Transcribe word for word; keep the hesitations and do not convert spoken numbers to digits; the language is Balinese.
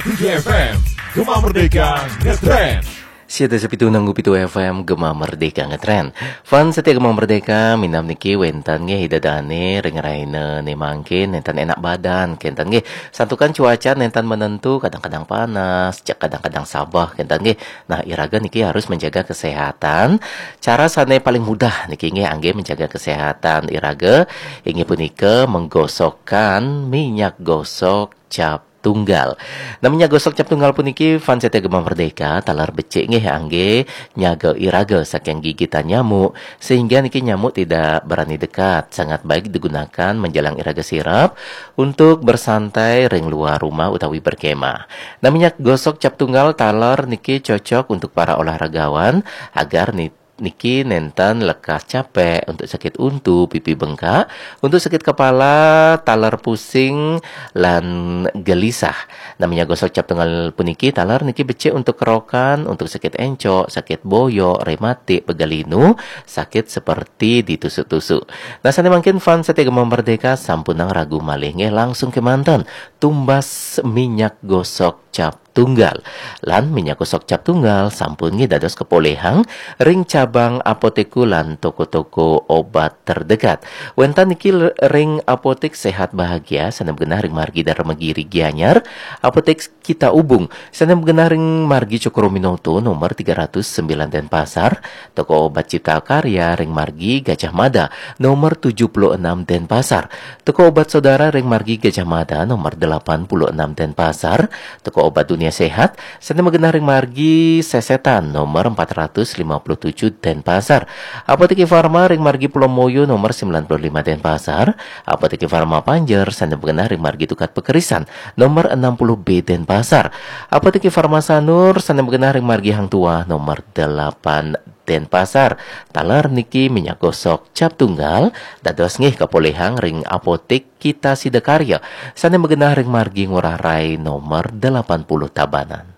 F M, Gema Merdeka Ngetrend. Sia dasa pitu nanggu pitu F M Gema Merdeka Ngetrend. Fans setia Gema Merdeka, minab niki wénten nggih idadané ring rahinané mangkin nénten enak badan, kénten nggih. Santukan cuaca nénten menentu, kadang-kadang panas, cek kadang-kadang sabeh, kénten nggih. Nah, iraga niki harus menjaga kesehatan. Cara sané paling mudah niki nggih anggé menjaga kesehatan iraga, inggih punika menggosokkan minyak gosok cap tunggal. Nah, minyak gosok cap tunggal puniki fans setia Gema Merdeka taler becik nggih anggé nyaga iraga saking gigitan nyamuk, sehingga niki nyamuk tidak berani dekat. Sangat baik digunakan menjelang iraga sirep untuk bersantai ring luar rumah utawi berkemah. Nah, minyak gosok cap tunggal taler niki cocok untuk para olahragawan agar ni- niki nénten lekas capek, untuk sakit untu, pipi bengkak, untuk sakit kepala, taler pusing, lan gelisah. Nah, minyak gosok cap tunggal puniki taler niki becik untuk kerokan, untuk sakit encok, sakit boyok, rematik, pegal linu, sakit seperti ditusuk-tusuk. Nah, sané mangkin fans setia Gema Merdeka sampunang ragu malih nggih, langsung kémanten tumbas minyak gosok cap tunggal. Lan minyak gosok cap tunggal sampun nggih dados kapolihang ring cabang apotek lan toko-toko obat terdekat. Wénten niki l- ring Apotek Sehat Bahagia sané magenah ring Margi Dharma Giri Gianyar, Apotek Kita Ubung sané magenah ring Margi Cokroaminoto nomor tiga ratus sembilan Denpasar, toko obat Cipta Karya ring Margi Gajah Mada nomor tujuh puluh enam Denpasar, toko obat Saudara ring Margi Gajah Mada nomor delapan puluh enam Denpasar, toko obat Dunia Sehat sané magenah ring Margi Sesetan nomor empat ratus lima puluh tujuh Denpasar, Apotek Farma ring Margi Pulau Moyo nomor sembilan puluh lima Denpasar, Apotek Farma Panjer sané magenah ring Margi Tukad Pakerisan nomor enam puluh B Denpasar, Apotek Farma Sanur sané magenah ring Margi Hang Tuah nomor delapan Denpasar. Taler niki minyak gosok cap tunggal dados nggih kapolihang ring Apotek Kita Sidakarya sané magenah ring Margi Ngurah Rai nomor delapan puluh Tabanan.